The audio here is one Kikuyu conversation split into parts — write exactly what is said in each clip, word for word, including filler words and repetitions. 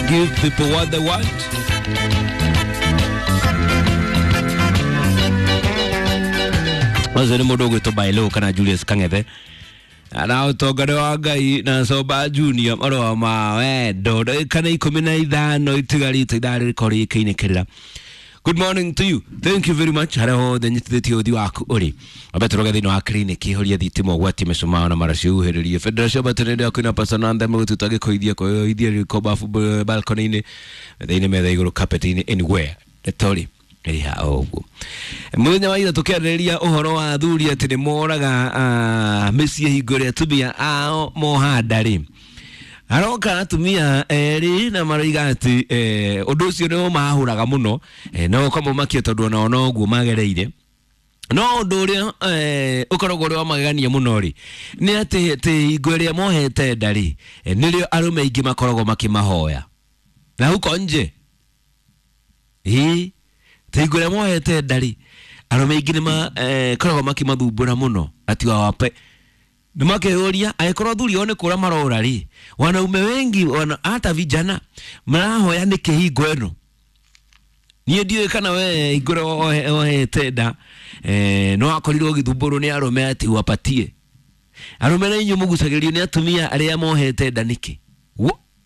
Give people what they want. Ũcio nĩ mũndũ ũgwĩtwo Bailo kana Julius Kang'ethe na ũtonga nĩ wa Ngai na Somba Junior marũa ma wendo ndagĩka nĩ ikũmi na ithano itigarĩte ithaa rĩkorwo rĩkĩinĩkĩrĩra. Good morning to you. Thank you very much. Harĩa hothe nyitithĩtie ũthi waku ũrĩ. Ambe tũroge thĩinĩ wa clinic horia thitima ũgwati mĩcumaa na maraci uherĩrie. Federation Battery yaku ina pasana ndeme gũtuta gĩkũithia kũithia riko bafu balcony-inĩ thĩinĩ metha igũrũ carpet-inĩ anywhere. Ndetori ĩrĩ ha o ũguo. Mũthenya wa ira tũkĩarĩrĩria ũhoro wa athuri atĩ nĩ moraga mĩciĩ hingo ĩrĩa atumia ao moha nda rĩ. Aroka atumia erĩ na maroiga atĩ ũndũ ũcio nĩ ũmahũraga mũno no ũkamũmakia tondũ onao noguo magereire. No ũndũ ũrĩa ũkoragwo ũrĩ wa magegania mũno rĩ nĩ atĩ atĩ hingo ĩrĩa mohete nda rĩ nĩrĩo arũme aingĩ makoragwo makĩmahoya na huko nje. Ĩĩ hingo ĩrĩa mohete nda rĩ arũme aingĩ nĩ makoragwo makĩmathumbũra mũno ati wawape nĩ makeyũria angĩkorwo athuri ao nĩ kũra marora rĩ wanaume wengi wana hata vijana marahoya nĩkĩ hingo ĩno. Niĩ ndiũĩ kana we hingo ĩrĩa wohete nda no wakorirwo ũgĩthumbũrwo nĩ arũme atĩ wapatie. Arũme na inyuĩ mũgucagĩrĩrio nĩ atumia arĩa mohete nda nĩkĩ?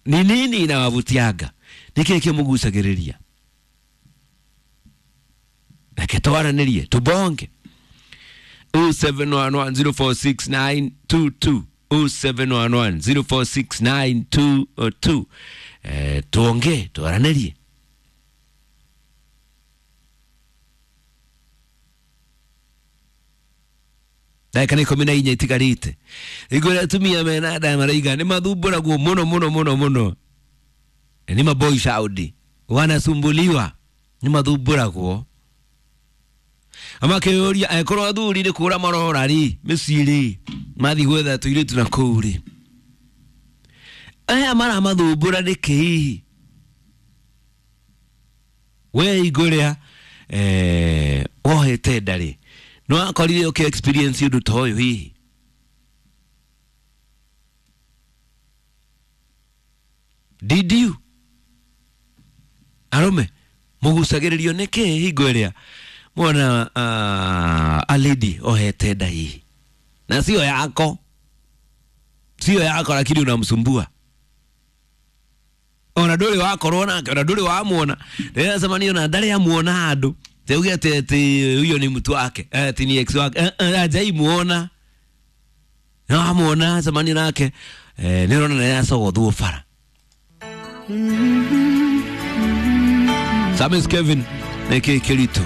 Ni nini inawavutianga? Nĩkĩ kĩmũgucagĩrĩria? Reke twaranĩrie tubonge. oh seven one one zero four six nine two two oh seven one one zero four six nine two two. Eh, tuongee twaranĩrie. Ndagĩka nĩ ikũmi na inya itigarĩte. Hingo ĩrĩa atumia mena nda maraiga nĩ mathumbũragwo mũno mũno mũno mũno. Ni maboy Saudi wanasumbuliwa, nĩ mathumbũragwo. Amakĩyũria angĩkorwo athuri nĩ kũra marora rĩ mĩciĩ rĩ mathiĩ gwetha tũirĩtu na kũu rĩ aya maramathumbũra nĩkĩ hihi? We hingo ĩrĩa eh, wohete nda rĩ no wakorire ũkĩ experience ũndũ ta ũyũ hihi? Did you? Arũme mũgucagĩrĩrio nĩkĩ hingo ĩrĩa mwana uh, a lady ohete nda hihi na sio yako, sio yako, lakini unamsumbua ona ndũrĩ wakorwo nake ona ndũrĩ wamuona. Ndĩracemania na ndarĩ amuona handũ teuge atĩ atĩ huyo ni mtu wake ati ni ex wake hajaimuona no amuona cemania nake eh, nĩũrona nĩaracogothwo bara. Samis Kevin nĩkĩ kĩritũ